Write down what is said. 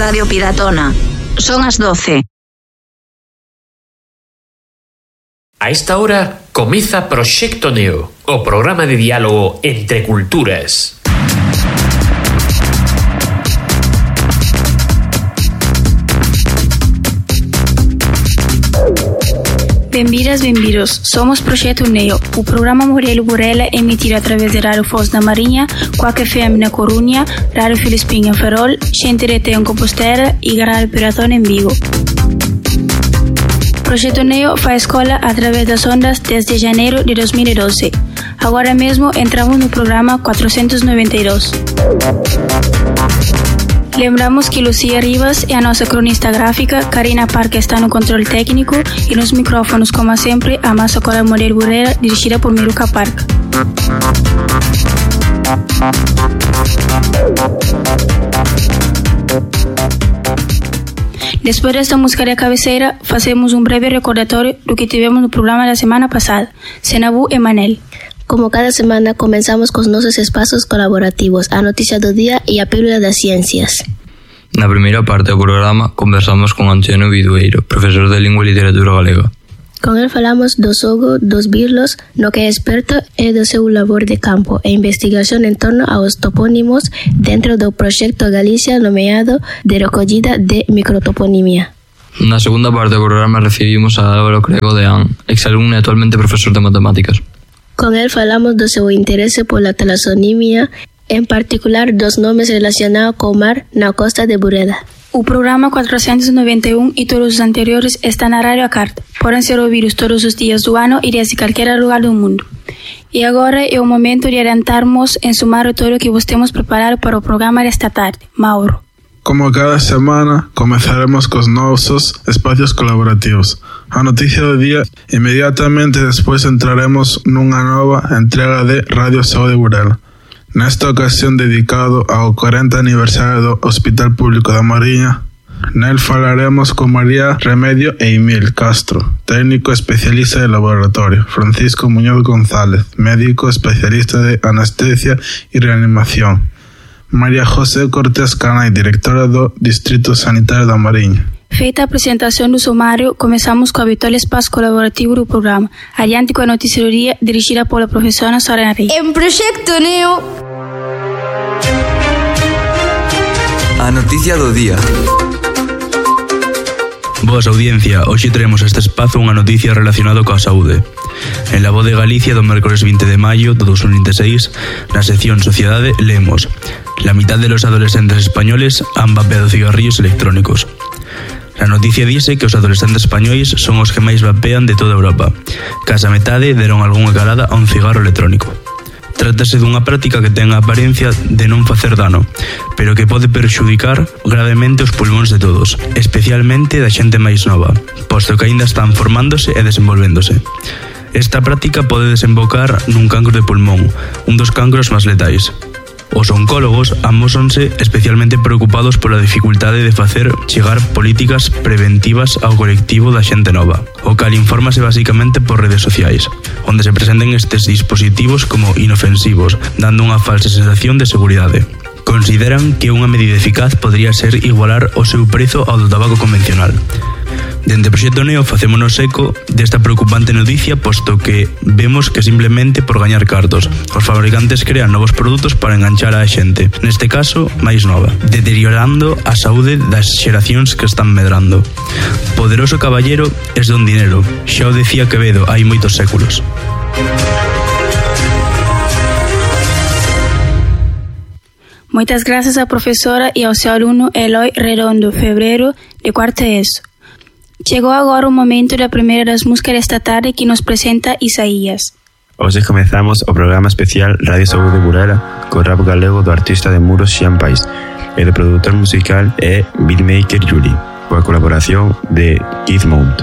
Radio Piratona. Son as 12. A esta hora comeza Proxecto Neo, o programa de diálogo entre culturas. Benvidas, benvidos. Somos Proxecto Neo, o programa Morelo Burela emitido através de Rádio Foz da Marinha, Quack FM na Corunha, Rádio Filispim em Ferrol, Xenterete em Compostela e Rádio Piratona em Vigo. Proxecto Neo faz escola através das ondas desde janeiro de 2012. Agora mesmo entramos no programa 492. Lembramos que Lucia Rivas é a nossa cronista gráfica, Karina Parque está no controle técnico e nos micrófonos, como sempre, a nossa cola Morelo Burela, dirigida por Miluca Parque. Depois desta música de cabeceira, fazemos um breve recordatório do que tivemos no programa da semana passada. Senabu e Manel. Como cada semana, comenzamos con nuestros espacios colaborativos, a noticia do día e a pílula das ciencias. Na primeira parte do programa, conversamos con Antonio Vidueiro, profesor de Lingua e Literatura Galega. Con él falamos do xogo dos birlos, no que é experto e do seu labor de campo e investigación en torno aos topónimos dentro do proxecto Galicia nomeado de recollida de microtoponimia. Na segunda parte do programa recibimos a Álvaro Crego de AN, exalumno e actualmente profesor de matemáticas. Con él falamos do seu interese pola talasonimia, en particular dos nomes relacionados co mar na costa de Burela. O programa 491 e todos os anteriores estão na Rádio Carta. Podem ser ouvidos todos os dias do ano e desde qualquer lugar do mundo. E agora é o momento de adiantarmos em sumário todo o que vos temos preparado para o programa desta tarde. Mauro. Como cada semana, comenzaremos con nuestros espacios colaborativos. A noticia do día, inmediatamente después entraremos nunha nova entrega de Radio Saúde Burela. Nesta ocasión dedicado ao 40 aniversario do Hospital Público da Mariña, nel falaremos con María Remedio e Emil Castro, técnico especialista de laboratorio, Francisco Muñoz González, médico especialista de anestesia e reanimación, María José Cortés Canay, directora do Distrito Sanitario da Mariña. Feita a apresentação do sumário, começamos com o habitual espaço colaborativo do programa. Adiante com a notícia do dia, dirigida pela professora Soraya Rey. En Proxecto Neo. A noticia do día. Boas audiencia, hoxe traemos a este espazo unha noticia relacionada coa saúde. En La Voz de Galicia do mércoles 20 de maio de 2026, na sección Sociedade, leemos: la mitad de los adolescentes españoles han vapeado cigarrillos electrónicos. A noticia dice que os adolescentes españois son os que máis vapean de toda Europa. Case a metade deron algunha calada a un cigarro electrónico. Trátase dunha práctica que ten a apariencia de non facer dano, pero que pode perxudicar gravemente os pulmóns de todos, especialmente da xente máis nova, posto que aínda están formándose e desenvolvéndose. Esta práctica pode desembocar nun cancro de pulmón, un dos cancros máis letais. Os oncólogos amósanse especialmente preocupados pola dificultade de facer chegar políticas preventivas ao colectivo da xente nova, o cal infórmase basicamente por redes sociais, onde se presenten estes dispositivos como inofensivos, dando unha falsa sensación de seguridade. Consideran que unha medida eficaz podría ser igualar o seu prezo ao do tabaco convencional. Dende Proxecto Neo facémonos eco desta preocupante noticia, posto que vemos que simplemente por gañar cartos os fabricantes crean novos produtos para enganchar a xente, neste caso máis nova, deteriorando a saúde das xeracións que están medrando. Poderoso caballero es don dinero, xa o decía Quevedo hai moitos séculos. Moitas grazas á profesora e ao seu aluno Eloy Redondo Febreiro, de cuarto ESO. Chegou agora o momento da primeira das músicas desta tarde que nos presenta Isaías. Hoxe comezamos o programa especial Radio Saúde Burela co rap galego do artista de Muros Xian Pais e do produtor musical é beatmaker Juli, coa colaboración de Keith Mount.